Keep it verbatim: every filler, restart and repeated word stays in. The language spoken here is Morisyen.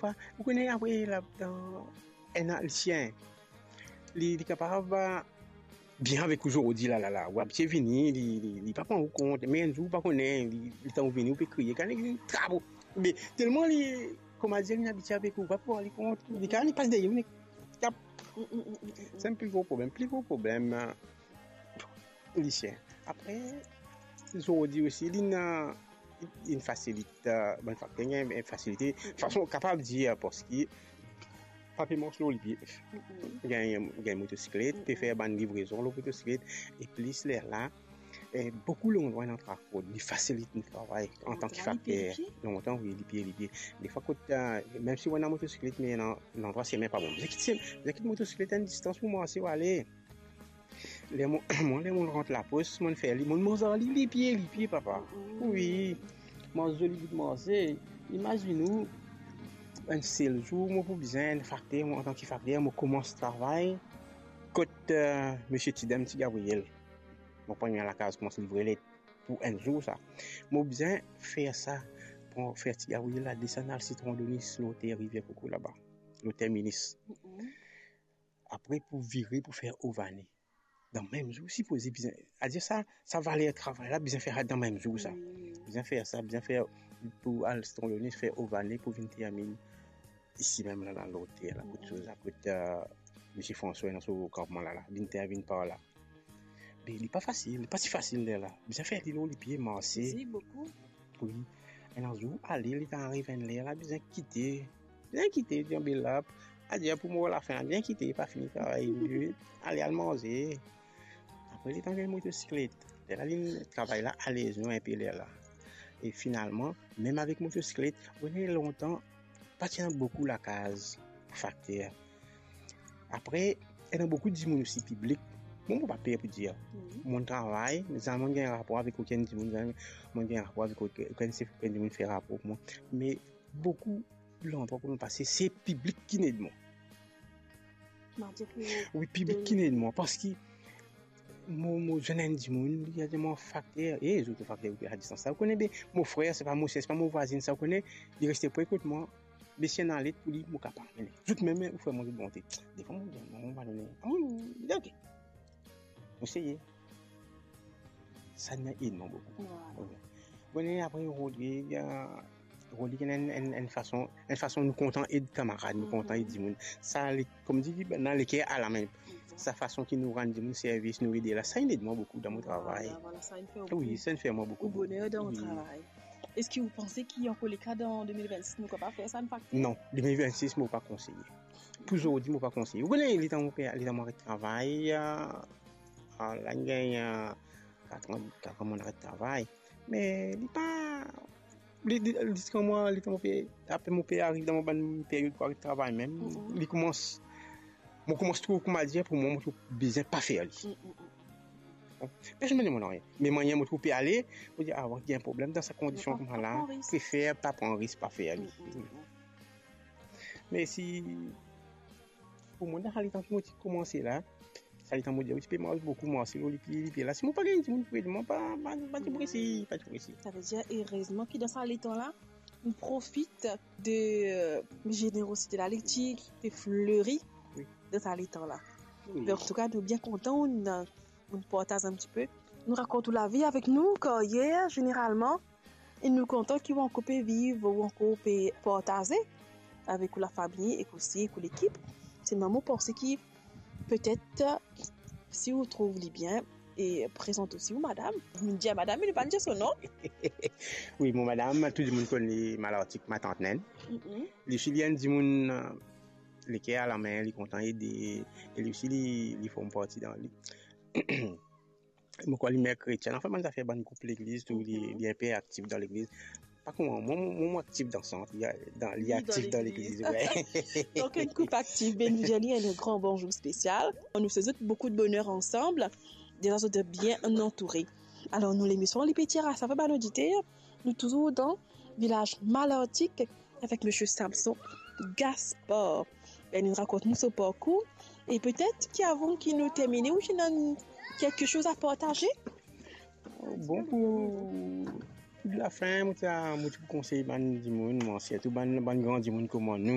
pa, ou kone apre la, dan enn an, lisien, li, li kapav, a, bien avek ou zordi la, la, la. Ou abitie vini, li, li, li pa pran ou kont, me enn zour ou pa kone, li, letan ou vini, ou pe kriye, kan li trap ou. Me telman li, kouma dir, li abitie avek ou, ou pa pran li kont, li kan li pas deryer ou, li tap. Mm, mm, mm, mm, mm. Sa enn pli gro problem. Pli gro problem, a, lisien. Apre, zordi osi, li ena, li fasilit, a, bann fakter, ena enn fasilite. Mm, mm. Fason, kapav dir, a, parski pa pe mars lor lipie. Mm, mm. Gagn, gagn motosiklet, pe, mm, mm, fer bann livrezon lor motosiklet. E plis lerla, e, boukou landrwa ena trafo, li fasilit nou travay antan ki fakter. Lontan, lipie, lipie. Lontan, wi, lipie, lipie. Defwa kot, a, mem si ou ena motosiklet, me ena landrwa semin pa bon. Bizin kit sem-, bizin kit motosiklet enn distans pou marse ou ale. Ler mo, mwa, ler mo rant lapos, mo fer li, mo manz ar li, lipie, lipie, papa. Mm. Wi, mo zoli bout manze. Imazinn ou, enn sel zour, mo pou bizin enn fakter, mo, antan ki fakter, mo koumans travay kot, e, misie Tidem Ti Gabriel. Mo pran lakaz, koumans livre let pou enn zour sa. Mo bizin fer sa, pou fer Ti Gabriel la desann al Sitron Donis, lor ter Rivier Coco laba, lor terminis. Mm-mm. Apre pou vire pou fer Ovane. Dan mem zour, sipoze bizin, adir sa, sa valer travay la, bizin fer dan mem zour sa. Wi. Bizin fer sa, bizin fer pou al Sitron Donis, fer Ovane pou vinn terminn isi mem la, la, lor ter la, kot, mm-mm, soz la, kot, e, misie François, ena so kanpman la, la, vinn ter, vinn par la. Me li pa fasil, li pa ti fasil lerla. Bizin fer li lor lipie, marse. Wi, boukou. Wi. Enn zour ale, li tann ariv enn ler la, bizin kite. Bizin kite, dir be la, adir pou mo lafin, bizin kite, pa fini travay. Ale, al manze. Apre, li tann gagn motosiklet. Lerla, li travay la alez nou enpe lerla. E finalman, mem avek motosiklet, ou kone lontan, pa ti ena boukou lakaz pou fakter. Apre, ena boukou dimoun osi, piblik. Mo, mo pa per pou dir. Wi. Mo travay, zame mo gagn rapor avek okenn dimoun, zame mo gagn rapor avek okenn, okenn sef, okenn dimoun fer rapor pou mwa. Me boukou landrwa kot mo pase, se piblik ki'nn ed mwa. Wi, piblik ki'nn ed mwa, parski mo, mo zwenn enn dimoun, li dir mwa, "Fakter, e, zot fakter, ou pe a distans sa, ou kone be, mo frer, se pa mo ser, se pa mo vwazin sa, ou kone, li reste pre kot mwa, be si ena let pou li, mo kapav amenn." Zot mem, ou fer mwa zot bonte. Defwa mo dir, "Non, mo pa done." "A wi, wi, wi, ok." Mo seye. Sa inn ed mwa boukou. Wi. Bon, e apre Rodrig, e, Rodrig ena enn, enn, enn fason, enn fason nou kontan ed kamarad, nou kontan ed dimoun. Sa, li, kouma dir, dan leker alame. Sa fason ki nou rann dimoun servis, nou ede la, sa inn ed mwa boukou dan mo travay. Vwala, vwala, sa inn fer ou, wi, sa inn fer mwa boukou. Ou boner dan ou travay. Eski ou panse ki ankor leka dan de mil vennsis nou kapav fer sa, inpakte? Non, de mil vennsis mo pa konseye. Pou zordi, mo pa konseye. Ou kone, letan mo pe, letan mo aret travay, a, a, la inn gagn, a, katran, katran mo aret travay. Me li pa, li, li, li, kan mwa, letan mo pe, apre mo pe ariv dan mo bann peryod pou aret travay mem, li koumans, mo koumans trouv, kouma dir, pou mwa, mo trouv bizin pa fer li. Bon, personn pa dir mwa nanye. Me mwa, mo trouv pe ale, mo dir, "A, gagn problem dan sa kondision kouma la, prefer pa pran risk, pa fer li." Me si, pou mwa, dan sa letan ki mo ti koumanse la, sa letan mo dir, wi, ti pe mars boukou, marse lor lipie, lipie la. Si mo pa gagn dimoun pou ed mwa, pa, pa, pa ti prese, pa ti prese. Savedir, erezman ki dan sa letan la, nou profit de, e, zenerozite la, li ti pe fleri dan sa letan la. Wi. Me antouka, nou bien kontan, nou, nou partaz enn tipe. Nou rakont ou lavi avek nou, karyer, zeneralman. E nou kontan ki ou ankor pe viv, ou ankor pe partaze avek ou lafami ek osi ek ou lekip. Selman mo panse ki petet, si ou trouv li bien, e prezant osi ou madam. Nou dir madam, me nou pa dir so non. Wi, mo madam, tou dimoun konn li, Malartik, matant Nen. Mm-mm. Li osi, li enn dimoun, e, leker alame, li kontan ede, e li osi, li, li form parti dan li. Mo krwar li mer kretien, anfin, bann zafer, bann group legliz, tou, li, li inpe aktif dan legliz. Pa kouma mwa, mwa, mwa, mwa aktif dan sant, li, dan, li aktif dan legliz, wi. Donk, enn koup aktif, be nou dir li enn gran bonzour spesial. Nou swet zot boukou de boner ansam, deza zot bien antoure. Alor, nou, lemision, li pe tir a sa, bann oditer, nou touzour dan vilaz Malartik, avek misie Samson Gaspard. Li inn rakont nou so parkour. E petet ki avan ki nou termine, ou ena kelke soz a partaze? Bon, pou, pou lafin, mo ti a, mo ti pou konsey bann dimoun, mwa, sirtou bann, bann gran dimoun kouma nou.